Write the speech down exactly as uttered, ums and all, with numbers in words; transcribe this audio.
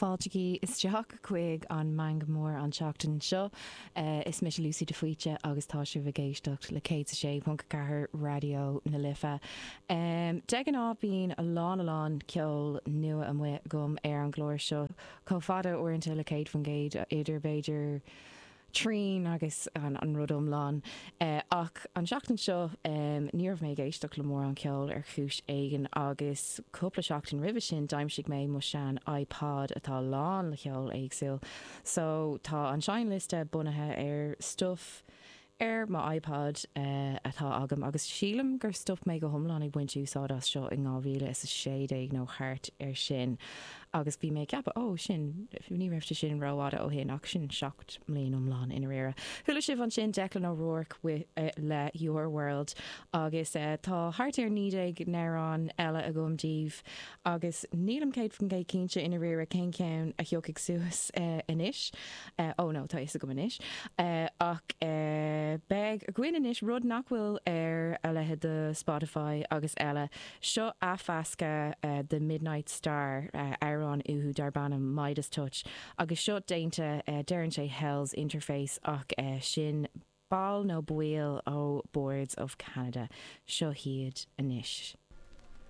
Fáiltigí isteach chuig an Meangadh Mór an tseachtain seo. Is mise Lucy de Faoite agus tá sibh ag éisteacht le céad a sé ponc a ceathair Raidió na Life. De ghnáth bíonn a lán a lán ceol nua amuigh agam ar an gclár seo, chomh fada uaireanta le céad faoin gcéad idir b'fhéidir trian agus an rud iomlán. Ach an tseachtain seo ní raibh mé ag éisteacht le mórán ceoil ar chúis éigin agus cúpla seachtain roimhe sin d'aimsigh mé mo sean iPod atá lán le cheol éagsúil. So tá an seinnliosta bunaithe ar stuff ar mo iPod atá agam agus sílim gur stop mé go hiomlán ag baint úsáid as seo in dhá mhíle is a sé déag nó thart ar sin agus bhí mé ag ceapadh ó sin ní raibh sé sin rófhada ó shin ach sin seacht mbliain iomlán i ndáiríre. Chuala sibh ansin Declan O'Rourke with, le Your World agus tá thart ar naoi déag n-amhrán eile agam daoibh agus nílim céad faoin gcéad cinnte i ndáiríre cén ceann a thiocfaidh suas anois. Ó no, tá a fhios agam anois. Ach beidh againn anois rud nach bhfuil ar a leithéid de Spotify agus eile. Seo athmheascadh de Midnight Star, amhrán uathu darb ainm Midas Touch agus seo déanta, deireann sé Hell's Interface ach sin ball nó baill ó Boards of Canada. Seo hiad anois.